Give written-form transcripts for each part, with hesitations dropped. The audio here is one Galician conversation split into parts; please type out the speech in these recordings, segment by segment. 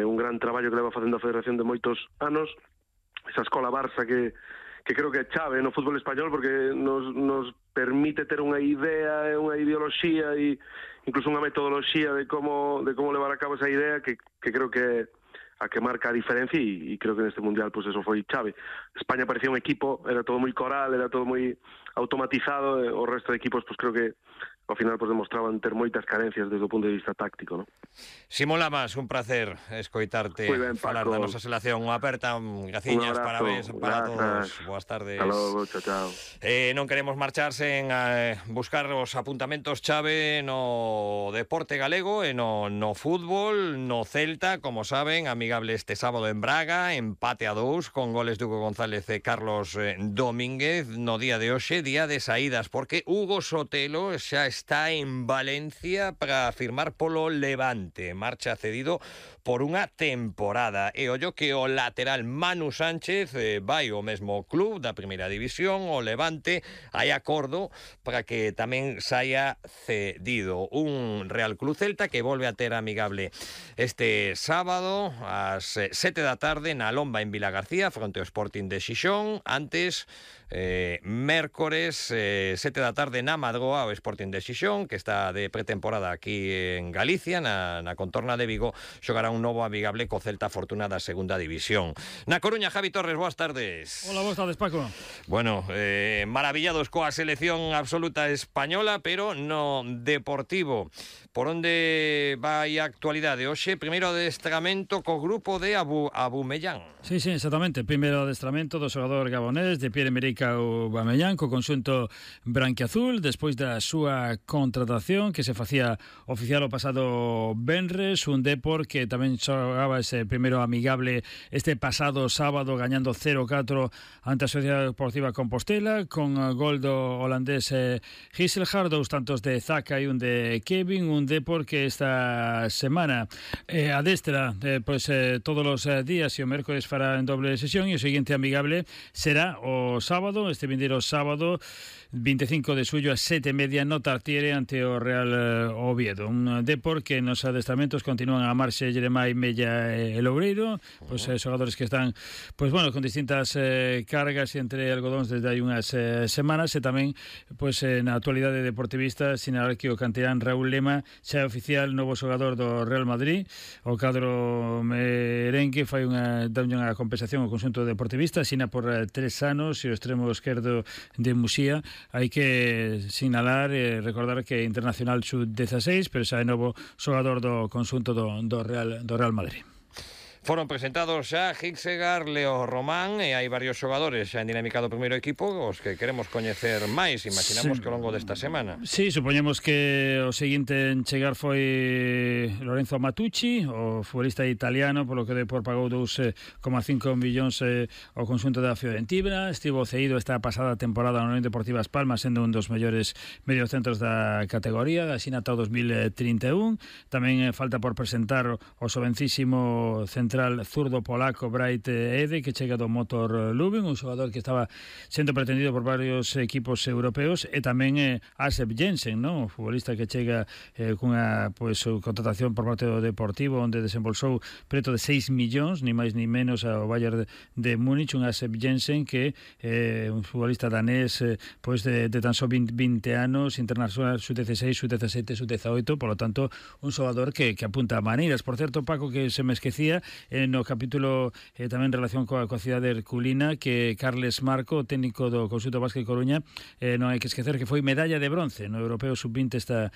un gran traballo que leva facendo a Federación de moitos anos, esa escola Barça que creo que é chave no fútbol español, porque nos permite ter unha idea e unha ideoloxía e incluso unha metodoloxía de como levar a cabo esa idea que creo que a que marca a diferencia e creo que neste Mundial pues eso foi chave. España parecía un equipo, era todo moi coral, era todo moi automatizado, o resto de equipos pues creo que ao final pues demostraban ter moitas carencias desde o punto de vista táctico, ¿no? Simón Lamas, un placer escoitarte falar da nosa selección. Unha aperta, graciñas, parabéns para todos. Boas tardes. Hasta logo, chao. Non queremos marchar sen buscar os apuntamentos chave no deporte galego e no fútbol, no Celta, como saben, amigable este sábado en Braga, empate a 2 con goles de Hugo González e Carlos Domínguez. No día de hoxe, día de saídas, porque Hugo Sotelo xa está en Valencia para firmar polo Levante. Marcha cedido por unha temporada. E ollo que o lateral Manu Sánchez vai ao mesmo club da primeira división, o Levante. Hai acordo para que tamén saia cedido. Un Real Club Celta que volve a ter amigable este sábado ás 7 da tarde na Lomba en Vilagarcía fronte ao Sporting de Xixón. Antes, mércores 7 da tarde na Madroa, o Sporting de Xixón, que está de pretemporada aquí en Galicia, na contorna de Vigo, xogará un novo amigable co Celta Fortuna da segunda división. Na Coruña, Javi Torres, boas tardes. Hola, boas tardes, Paco. Bueno, maravillados coa selección absoluta española, pero no deportivo. Por onde vai a actualidade? Hoxe, primeiro adestramento co grupo de Abumellán. Sí, exactamente. Primeiro adestramento do xogador gabonés de Pierre-Emerick Aubameyang co conxunto branquiazul, despois da súa contratación que se facía oficial o pasado venres, un Depor que tamén xogaba ese primeiro amigable este pasado sábado gañando 0-4 ante a Sociedade Deportiva Compostela con gol do holandés Gisselhard, 2 tantos de Zaka e un de Kevin, un Depor que esta semana adestra todos os días e o mércores fará en doble sesión e o seguinte amigable será o sábado, este vindeiro sábado 25 de xullo a 7:30 no Tartiere ante o Real Oviedo. Un Depor que nos adestramentos continúan a marxe Jeremai, Mella e Loureiro, xogadores que están con distintas cargas entre algodóns desde hai unhas semanas e tamén na actualidade deportivista sinalar que o canterán Raúl Lema xa é oficial novo xogador do Real Madrid. O cadro merengue fai unha compensación ao conxunto deportivista, sina por 3 anos e o extremo esquerdo de Muxía. Hai que sinalar e recordar que é internacional sub-16, pero xa é novo xogador do conxunto do Real Madrid. Foron presentados xa Hixegar, Leo Román e hai varios xogadores xa en dinámica do primeiro equipo os que queremos coñecer máis, imaginamos que ao longo desta semana. Sí, supoñemos que o seguinte en chegar foi Lorenzo Matucci, o futbolista italiano, polo que Depor pagou 2,5 millóns ao conxunto da Fiorentina. Estivo cedido esta pasada temporada na Unión Deportiva As Palmas, sendo un dos mellores mediocentros da categoría, asina ata o 2031. Tamén falta por presentar o xovencísimo central zurdo polaco Bright Ede, que chega do Motor Lubin, un xogador que estaba sendo pretendido por varios equipos europeos, e tamén Asep Jensen, ¿no? O futbolista que chega cunha contratación por parte do Deportivo, onde desembolsou preto de 6 millóns, ni máis ni menos, ao Bayern de Múnich. Un Asep Jensen que un futbolista danés de tan só 20 anos, internacional sub-16, sub-17, sub-18, por lo tanto un xogador que apunta a maneiras. Por certo, Paco, que se me esquecía no capítulo tamén en relación coa cidade herculina, que Carles Marco, técnico do conxunto Básquet Coruña, non hai que esquecer que foi medalla de bronce no Europeo Sub-20 esta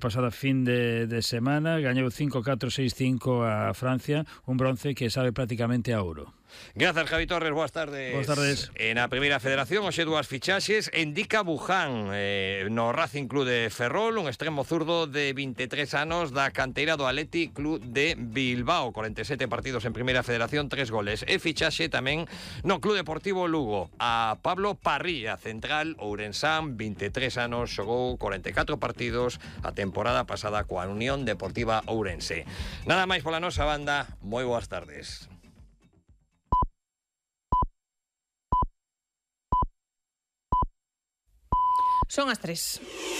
pasada fin de semana, gañou 5-4, 6-5 a Francia, un bronce que sabe prácticamente a ouro. Grazas, Javi Torres, boas tardes. Boas tardes. Na primeira federación, hoxe dúas fichaxes. Indica Buján no Racing Club de Ferrol, un extremo zurdo de 23 anos da canteira do Athletic Club de Bilbao, 47 partidos en primeira federación, 3 goles. E fichaxe tamén no Club Deportivo Lugo a Pablo Parrilla, central ourensán, 23 anos, xogou 44 partidos a temporada pasada coa Unión Deportiva Ourense. Nada máis pola nosa banda, moi boas tardes. Son as 3.